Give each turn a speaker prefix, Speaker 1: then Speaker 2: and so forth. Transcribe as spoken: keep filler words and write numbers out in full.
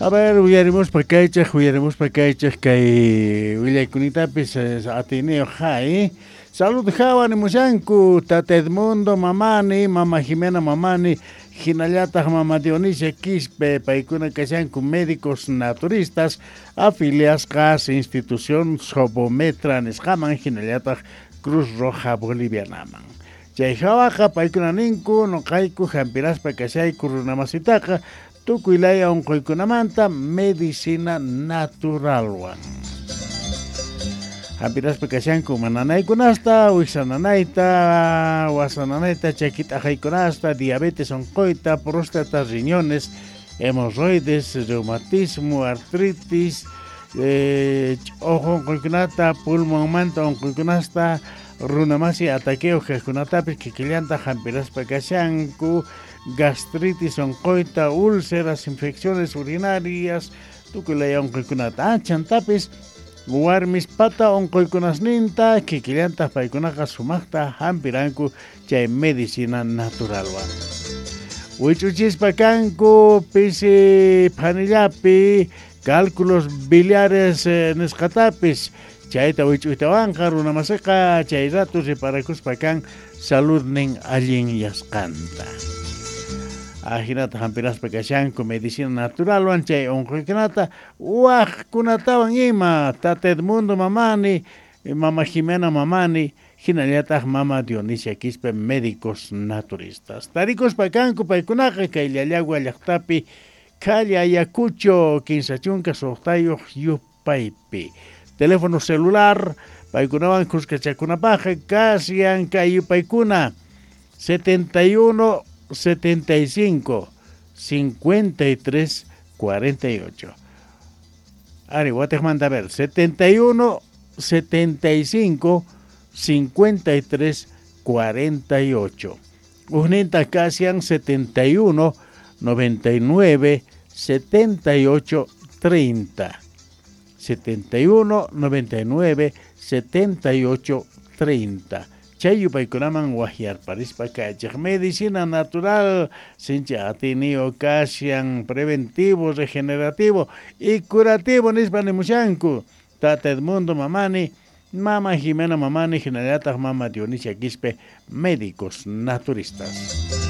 Speaker 1: A ver, uyarimuspa kaychaq, uyarimuspa kaychaq kay willaykunitapis atiniyuq hay. Salud hawa nimushanku, Tata Edmundo Mamani, Mama Jimena Mamani, hinallataq Mama Dionisia Quispe, paykuna kashanku médicos naturistas afiliasqas institución Sobometra nisqaman, hinallataq Cruz Roja Bolivianaman. Chay hawaqa paykuna ninku, nuqayku hampiraspa kashayku runamasitaqa, tukuy laya unquykunamanta medicina naturalwan. Hampiraspa kashanku mananaykunasta, wiksananayta, wasananayta, chakit'aqaykunasta, diabetes unquyta, próstata, riñones, hemorroides, reumatismo, artritis, eh, ojo unquykunata, pulmonmanta unquykunasta, runamasi ataqueo kaqkunatapis kikillanta hampiraspa kashanku, gastritis unquyta, úlceras, infecciones urinarias, tukuy laya unquykunata. Chantapis warmispata unquykunasninta kikillanta paykunaqa sumaqta hampiranku chay medicina naturalwan. Wich'uchispa kanku pisi phanillapi cálculos biliares eh, nisqatapis chayta wich'uytawanqa runamasiqa chay rato reparakuspa kan saludnin allin yasqanta. Ajinata hampiraspa kashanku medicina naturalwan chay unquykunata waqkunatawan ima Tata Edmundo Mamani, Mama Jimena Mamani, hinallataq Mama Dionisia Quispe, médicos naturistas. Tarikuspa kanku paykunaqa kay Llallagua llaqtapi calle Ayacucho kinsa chunka suqtayuq yupaypi. Teléfono celular paykunawan kuskachakunapaqqa kasyan kay yupaykuna setenta y uno setenta y cinco cincuenta y tres cuarenta y ocho. Ari, watejmanta a ver, setenta y uno setenta y cinco cincuenta y tres cuarenta y ocho. Ujninta kasian setenta y uno noventa y nueve setenta y ocho treinta. setenta y uno noventa y nueve setenta y ocho treinta. Chay yupaykunaman wahyarparispa kaychaq medicina natural sincha atiniyo kashan preventivo, regenerativo y curativo nispa nimushanku. Tata Edmundo Mamani, Mama Jimena Mamani, hinallataq Mama Dionisia Quispe, médicos naturistas.